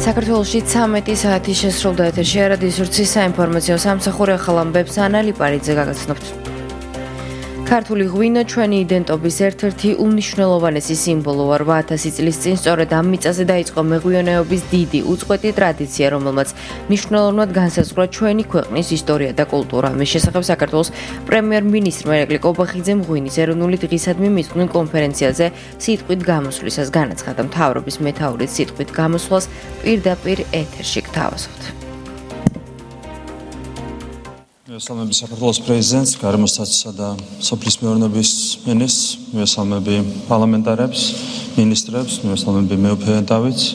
საქართველოში 13 საათი შესრულდა ეთერში არადის ურცის საინფორმაციო სამსახური ახალ ამბებს ანა ლიპარიძე გაგაცნობთ. ქართული ღვინო ჩვენი იდენტობის ერთ-ერთი უმნიშვნელოვანესი სიმბოლოა. 8000 წლის წინ სწორედ ამ მიწაზე დაიწყო მეღვინეობის დიდი უწყვეტი ტრადიცია, რომელმაც მნიშვნელოვნად განსაზღვრა ჩვენი ქვეყნის ისტორია და კულტურა. მის შესახებ საქართველოს პრემიერ-მინისტრმა ირაკლი კობახიძემ ღვინის ეროვნული დღისადმი მიძღვნილ კონფერენციაზე სიტყვით გამოსვლის განაცხადა. მთავრობის მეთაურის სიტყვით გამოსვლას პირდაპირ ეთერში გთავაზობთ. მესალმები საქართველოს პრეზიდენტს, გარემოსტატსა და სოფლის მეურნეობის მინისტრს, მესალმები პარლამენტარებს, მინისტრებს, მესალმები მეუფე დავითს,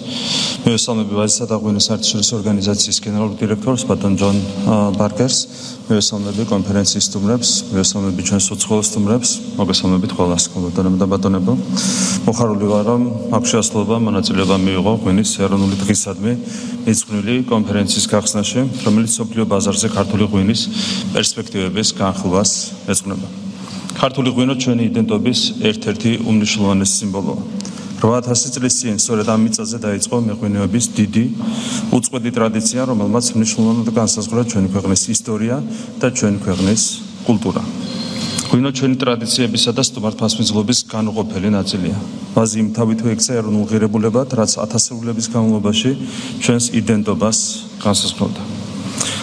მესალმები ვაზისა და ღვინის საერთაშორისო ორგანიზაციის გენერალურ დირექტორს ბატონ ჯონ ბარკერს, მესალმები კონფერენციის სტუმრებს, მესალმები ჩვენს უცხოელ სტუმრებს, მოგესალმებით ყველას, ბატონებო და ბატონებო. მოხარული ვარ, რომ აქ შეასრულება მონაწილეობა მიიღო ღვინის ეროვნული დღისადმი მიძღვნილი კონფერენციის გახსნაში, რომელიც მსოფლიო ბაზარზე ქართული ღვინის პერსპექტივების განხილვას ეძღვნება. ქართული ღვინო ჩვენი იდენტობის ერთ-ერთი უმნიშვნელოვანესი სიმბოლოა. 8000 წლის წინ სწორედ ამ მიწაზე დაიწყო მეღვინეობის დიდი უწყვეტი ტრადიცია, რომელმაც მნიშვნელოვნად განსაზღვრა ჩვენი ქვეყნის ისტორია და ჩვენი ქვეყნის კულტურა. ღვინო ჩვენი ტრადიციებისა და სტუმართმასპინძლობის განუყოფელი ნაწილია. ვაზი იმთავითო ექცა ეროვნულ ღირებულებად, რაც ათასეულების განმავლობაში ჩვენს იდენტობას განსაზღვრავდა.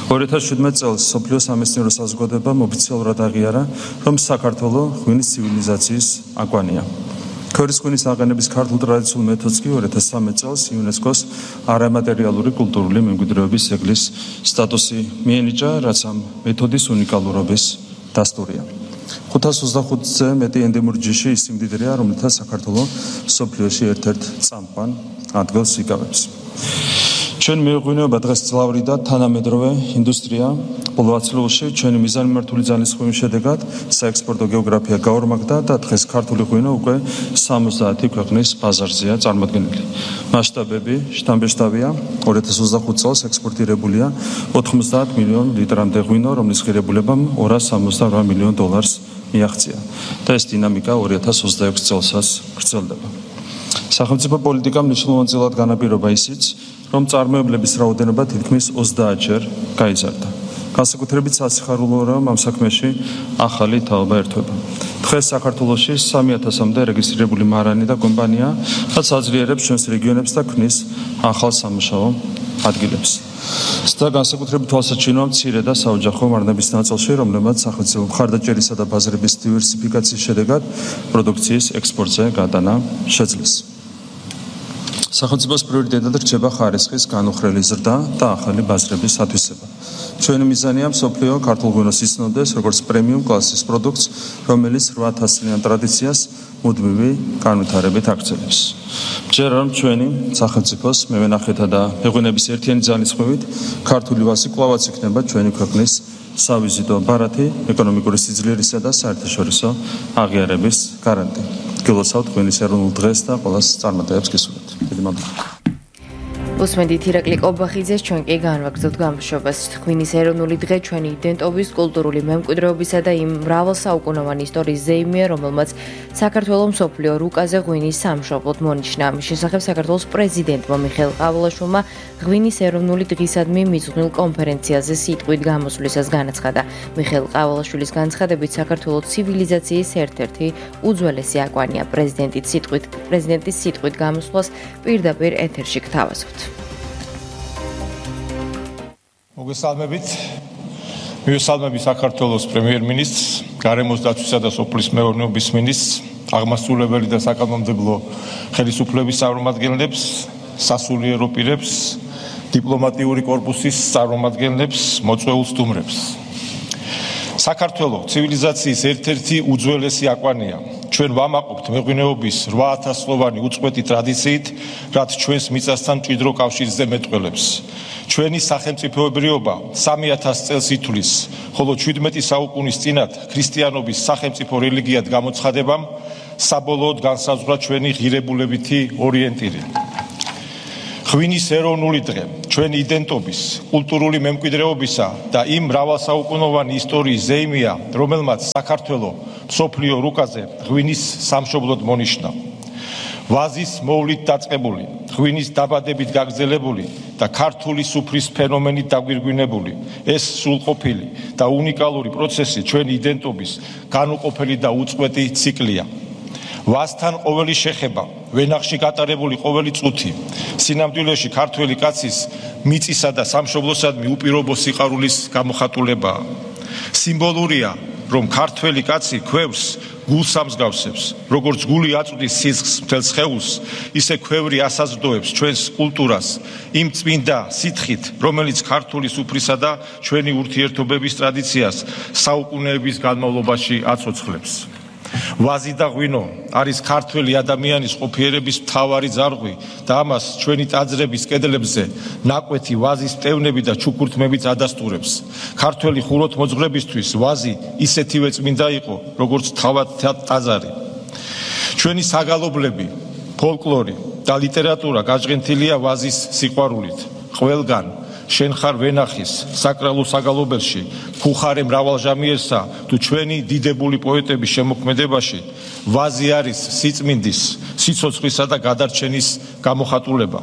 2017 წელს მსოფლიო სამეცნიერო საზოგადოებამ ოფიციალურად აღიარა, რომ საქართველო ღვინის ცივილიზაციის აკვანია. ქორის ღვინის აყენების ქართულ ტრადიციულ მეთოდს კი 2013 წელს იუნესკოს არამატერიალური კულტურული მემკვიდრეობის ძეგლის სტატუსი მიენიჭა, რაც ამ მეთოდის უნიკალურობის დასტურია. 525-ზე მეტი ენდემური ჯიში ის სიმდიდრეა, რომელთა საქართველო მსოფლიოში ერთ-ერთ წამყვან ადგილს იკავებს. ჩვენ მეღვინეობა დღეს ძლავრი და თანამედროვე ინდუსტრია. ბოლო ათწლეულში ჩვენი მიზანმიმართული ძალისხმევის შედეგად საექსპორტო გეოგრაფია გაორმაგდა და დღეს ქართული ღვინო უკვე 70 ქვეყნის ბაზარზეა წარმოდგენილი. მასშტაბები შთამბეჭდავია. 2025 წელს ექსპორტირებულია 90 მილიონ ლიტრამდე ღვინო, რომლის ღირებულებამ $268 მილიონ მიაღწია და ეს დინამიკა 2026 წელსაც გრძელდება. სახელმწიფო პოლიტიკა მნიშვნელოვანწილად განაპირობა ისიც, რომ წარმოებლების რაოდენობა თითქმის 30-ჯერ გაიზარდა. განსაკუთრებით სასიხარულოა, რომ ამ საქმეში ახალი თაობა ერთვება. დღეს საქართველოში 3000-მდე რეგისტრირებული მარანი და კომპანია, რაც აძლიერებს ჩვენს რეგიონებს და ქმნის ახალ სამუშაო ადგილებს. და განსაკუთრებით თვალსაჩინოა მცირე და საოჯახო მარნების ნაწილში, რომლებმაც სახელმწიფო მხარდაჭერისა და ბაზრების დივერსიფიკაციის შედეგად პროდუქციის ექსპორტზე გატანა შეძლეს. სახელმწიფოს პრიორიტეტად რჩება ხარისხის განუხრელი ზრდა და ახალი ბაზრების ათვისება. ჩვენი მიზანია მსოფლიო ქართულ ღვინოს იცნობდეს როგორც პრემიუმ კლასის პროდუქტს, რომელიც 8000 წლიან ტრადიციას მუდმივი განვითარებით აქცევს. მჯერა რომ ჩვენი სახელმწიფოს მევენახეთა და მეღვინეების ერთიანი ძალისხმევით ქართული ვაზი კვლავაც იქნება ჩვენი ქვეყნის სავიზიტო ბარათი, ეკონომიკური სიძლიერისა და საერთაშორისო აღიარების გარანტი. გილოცავთ ღვინის ეროვნულ დღეს და ყველას წარმატებებს გისურვებთ. დიდი მადლობა. უსმენთ ირაკლი კობახიძეს, ჩვენ კი განვაგრძელთ გამშვებას. ღვინის ეროვნული დღე ჩვენი იდენტობის, კულტურული მემკვიდრეობისა და იმ მრავალსაუკუნოვანი ისტორიის ზეიმია, რომელმაც საქართველოს მსოფლიო რუკაზე ღვინის სამშობლოდ მონიშნა. ამის შესახებ საქართველოს პრეზიდენტმა მიხეილ ყავალაშვილმა ღვინის ეროვნული დღისადმი მიძღვნილ კონფერენციაზე სიტყვით გამოსვლისას განაცხადა. მიხეილ ყავალაშვილის განცხადებით საქართველოს ცივილიზაციის ერთ-ერთი უძველესი აკვანია. პრეზიდენტის სიტყვით გამოსვლას პირდაპირ ეთერში გთავაზობთ. მივესალმები საქართველოს პრემიერ-მინისტრს, გარემოს დაცვისა და სოფლის მეურნეობის მინისტრს, აღმასრულებელი და საკანონმდებლო ხელისუფლების წარმომადგენლებს, სასულიერო პირებს, დიპლომატიური კორპუსის წარმომადგენლებს, მოწვეულ სტუმრებს. საქართველო ცივილიზაციის ერთ-ერთი უძველესი აკვანია. ჩვენ ვამაყობთ მეღვინეობის 8000 წლოვანი უწყვეტი ტრადიციით, რაც ჩვენს მიწასთან მჭიდრო კავშირზე მეტყველებს. ჩვენი სახელმწიფოებრიობა 3000 წელს ითვლის, ხოლო 17 საუკუნის წინათ ქრისტიანობის სახელმწიფო რელიგიად გამოცხადებამ საბოლოოდ განსაზღვრა ჩვენი ღირებულებითი ორიენტირი. ღვინის ეროვნული დღე ჩვენი იდენტობის, კულტურული მემკვიდრეობისა და იმ მრავალსაუკუნოვანი ისტორიის ზეიმია, რომელმაც საქართველო მსოფლიო რუკაზე ღვინის სამშობლოდ მონიშნა. ვაზის მოვლით დაწყებული, ღვინის დაბადებით გაგრძელებული და ქართული სუფრის ფენომენით დაგვირგვინებული ეს სრულყოფილი და უნიკალური პროცესი ჩვენი იდენტობის განუყოფელი და უწყვეტი ციკლია. ვაზთან ყოველი შეხება, ვენახში გატარებული ყოველი წუთი, სინამდვილეში ქართველი კაცის მიწისა და სამშობლოსადმი უპირობო სიყვარულის გამოხატულებაა. სიმბოლურია, რომ ქართველი კაცი ქვევს გულს ამსგავსებს, როგორც გული აწვდის სისხლს მთელ სხეულს, ისე ქვევრი ასაზრდოებს ჩვენს კულტურას იმ წმინდა სითხით, რომელიც ქართული სუფრისა და ჩვენი ურთიერთობების ტრადიციას საუკუნეების განმავლობაში აცოცხლებს. ვაზი და ღვინო არის ქართველი ადამიანის ყოფიერების მთავარი ძარღვი და ამას ჩვენი ტაძრების კედლებზე ნაკვეთი ვაზის მტევნები და ჩუქურთმებით ადასტურებს. ქართველი ხუროთმოძღვრებისთვის ვაზი ისეთივე წმინდა იყო, როგორც თავად ტაძარი. ჩვენი საგალობლები, ფოლკლორი და ლიტერატურა გაჟღენთილია ვაზის სიყვარულით. ყველგან შენ ხარ ვენახის საკრალულ საგალობელში, ხუხარე მრავალჟამიერსა თუ ჩვენი დიდებული პოეტების შემოქმედებაში ვაზი არის სიწმინდის, სიცოცხლისა და გადარჩენის გამოხატულება.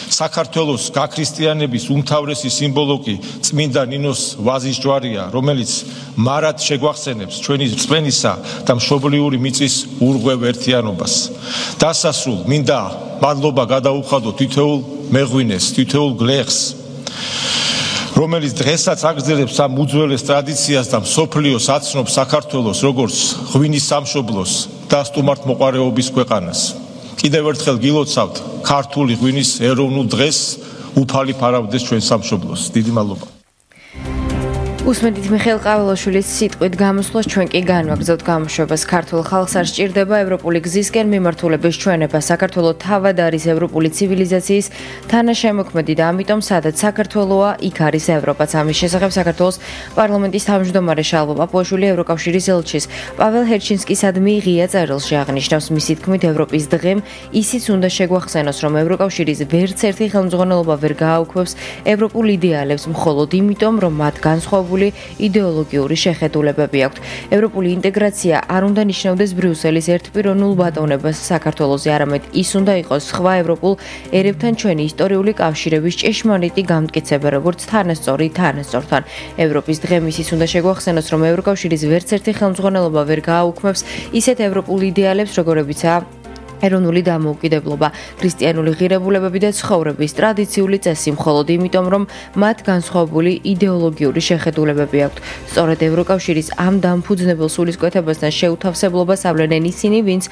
საქართველოს გაქრისტიანების უმთავრესი სიმბოლო კი წმინდა ნინოს ვაზის ჯვარია, რომელიც მარად შეგვახსენებს ჩვენი რწმენისა და მშობლიური მიწის ურღვევ ერთიანობას. დასასრულ მინდა მადლობა გადაუხადო თითოეულ მეღვინეს, თითოეულ გლეხს, რომელიც დღესაც აგრძელებს ამ უძველეს ტრადიციას და მსოფლიოს აცნობს საქართველოს როგორც ღვინის სამშობლოს და სტუმართმოყვარეობის ქვეყანას. კიდევ ერთხელ გილოცავთ ქართული ღვინის ეროვნულ დღეს, უფალი ფარავდეს ჩვენ სამშობლოს. დიდი მადლობა. უსმენთ მიხეილ ყაველაშვილის სიტყვით გამოსვლას ჩვენ კი განვაგრძობთ გამოშვებას. ქართულ ხალხს არ სჭირდება ევროპული გზისკენ მიმართულების ჩვენება. საქართველო თავად არის ევროპული ცივილიზაციის თანაშემოქმედი და ამიტომ სადაც საქართველოა, იქ არის ევროპაც. ამის შესახებ საქართველოს პარლამენტის თავმჯდომარე შალვა პაპუაშვილი ევროკავშირის ელჩის პაվել ჰერჩინსკისადმი ღია წერილში აღნიშნავს. მისი თქმით, ევროპის დღემ ისიც უნდა შეგვახსენოს, რომ ევროკავშირის ვერც ერთი ხელმძღვანელობა ვერ გააუქმებს ევროპულ იდეალებს, მხოლოდ იმიტომ, რომ მათ განსხვავებული იდეოლოგიური შეხედულებები აქვთ. ევროპული ინტეგრაცია არ უნდა ნიშნავდეს ბრიუსელის ერთპიროვნულ ბატონებას საქართველოზე, არამედ ის უნდა იყოს სხვა ევროპულ ერებთან ჩვენი ისტორიული კავშირების ჭეშმარიტი გამტკიცება, როგორც თანასწორი თანასწორთან. ევროპის დღემ ისიც უნდა შეგვახსენოს, რომ ევროკავშირის ვერც ერთი ხელმძღვანელობა ვერ გააუქმებს ისეთ ევროპულ იდეალებს, როგორებიცაა ეროვნული დამოუკიდებლობა, ქრისტიანული ღირებულებები და ცხოვრების ტრადიციული წესი, მხოლოდ იმიტომ, რომ მათ განსხვავებული იდეოლოგიური შეხედულებები აქვთ. სწორედ ევროკავშირის ამ დამფუძნებელ სულისკვეთებასთან შეუთავსებლობას ავლენენ ისინი, ვინც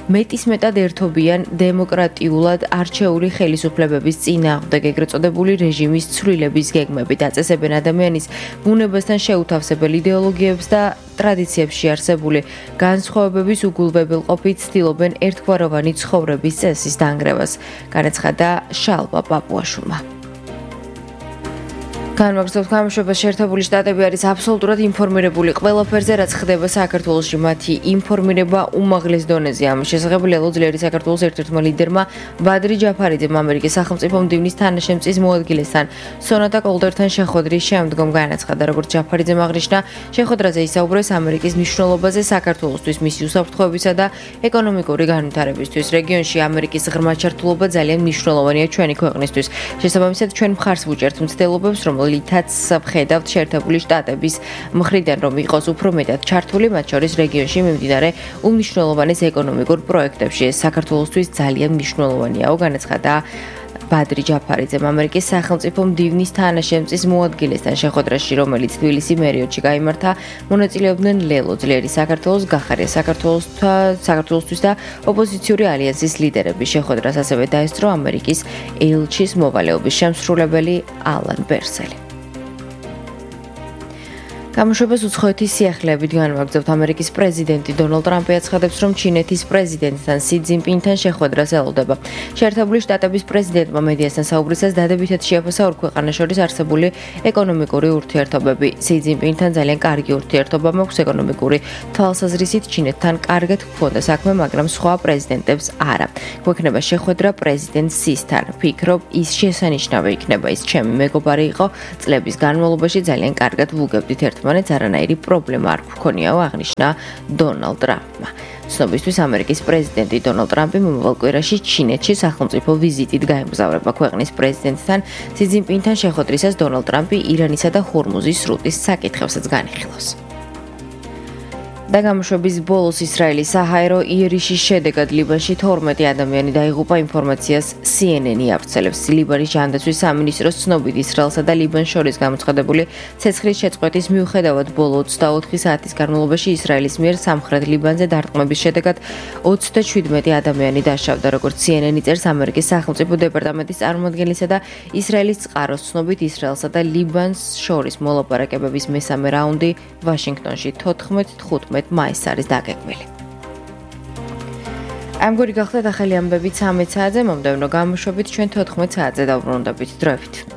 მეტისმეტად ერთობიან დემოკრატიულად არჩეული ხელისუფლებების წინააღმდეგ ეგრეთ წოდებული რეჟიმის ცვლილების გეგმებით, აწესებენ ადამიანის ბუნებასთან შეუთავსებელ იდეოლოგიებს და ტრადიციებში არსებული განსხვავებების უგულვებელყოფით ცდილობენ ერთგვაროვანი ცხოვრების წესის დანგრევას, განაცხადა შალვა პაპუაშვილმა. განვაგრძობთ გამოშვებას. შეერთებული შტატები არის აბსოლუტურად ინფორმირებული ყველაფერზე, რაც ხდება საქართველოში. მათი ინფორმირება უმაღლეს დონეზე. ამის შესახებ ლელო ძლიერი საქართველოს ერთ-ერთმა ლიდერმა ბადრი ჯაფარიძემ ამერიკის სახელმწიფო მდივნის თანაშემწის მოადგილესთან სონატა კოლდერთან შეხვედრის შემდგომ განაცხადა, როგორც ჯაფარიძემ აღნიშნა, შეხვედრაზე ისაუბრეს ამერიკის მნიშვნელობაზე საქართველოსთვის, მისი უსაფრთხოებისა და ეკონომიკური განვითარებისთვის. რეგიონში ამერიკის ღრმა ჩართულობა ძალიან მნიშვნელოვანია ჩვენი ქვეყნისთვის. შესაბამისად, ჩვენ მხარს ვუჭერთ მცდელობებს, რომლითაც ვხედავთ შეერთებული შტატების მხრიდან, რომ იყოს უფრო მეტად ჩართული მათ შორის რეგიონში მიმდინარე უმნიშვნელოვანეს ეკონომიკურ პროექტებში. ეს საქართველოსთვის ძალიან მნიშვნელოვანიაო, განაცხადა ბადრი ჯაფარიძემ ამერიკის სახელმწიფო მდივნის თანაშემწის მოადგილესთან შეხვედრაში, რომელიც თბილისის მერიოდში გაიმართა. მონაწილეობდნენ ლელო ძლიერი საქართველოს, გახარია საქართველოსთვის და ოპოზიციური ალიანსის ლიდერები. შეხვედრას ასევე დაესწრო ამერიკის ელჩის მოვალეობის შემსრულებელი ალან ბერსელი. გამოშვებას უცხოეთის სიახლეებით განვაგრძობთ. ამერიკის პრეზიდენტი დონალდ ტრამპი აცხადებს, რომ ჩინეთის პრეზიდენტთან სი ძინპინთან შეხვედრას ელოდება. შეერთებული შტატების პრეზიდენტმა მედიასთან საუბრისას დადებითად შეაფასა ორ ქვეყანას შორის არსებული ეკონომიკური ურთიერთობები. სი ძინპინთან ძალიან კარგი ურთიერთობა მაქვს ეკონომიკური თვალსაზრისით, ჩინეთთან კარგად გვქონდა საქმე, მაგრამ სხვა პრეზიდენტებს არა. გვექნება შეხვედრა პრეზიდენტ სისთან. ვფიქრობ, ის შესანიშნავი იქნება. ის ჩემი მეგობარი იყო, წლების განმავლობაში ძალიან კარგად ვუგებდით ერთმანეთს. ერთმანეთს არანაირი პრობლემა არ გვქონიაო, აღნიშნა დონალდ ტრამპმა. ცნობისთვის ამერიკის პრეზიდენტი დონალდ ტრამპი მომავალ კვირაში ჩინეთში სახელმწიფო ვიზიტით გაემგზავრება ქვეყნის პრეზიდენტთან სი ძინპინთან შეხვედრისას დონალდ ტრამპი ირანისა და ჰორმუზის სრუტის საკითხებსაც განიხილავს. და გამოშვების ბოლოს ისრაელის საჰაერო იერიშის შედეგად ლიბანში 12 ადამიანი დაიღუპა ინფორმაციას CNN-ი ავრცელებს. ლიბანის ჯანდაცვის სამინისტროს ცნობით ისრაელსა და ლიბანს შორის გამოცხადებული ცეცხლის შეწყვეტის მიუხედავად ბოლო 24 საათის განმავლობაში ისრაელის მიერ სამხრეთ ლიბანზე დარტყმების შედეგად 37 ადამიანი დაშავდა, როგორც CNN-ი წერს ამერიკის სახელმწიფო დეპარტამენტის წარმომადგენლისა და ისრაელის წყაროს ცნობით ისრაელსა და ლიბანს შორის მოლაპარაკებების მესამე რაუნდი ვაშინგტონში 14-15 მაისს არის დაგეგმილი. ამგვარი გახლდათ ახალი ამბები 13 საათზე, მომდევნო გამოშვებით ჩვენ 14 საათზე დავბრუნდებით. დროებით.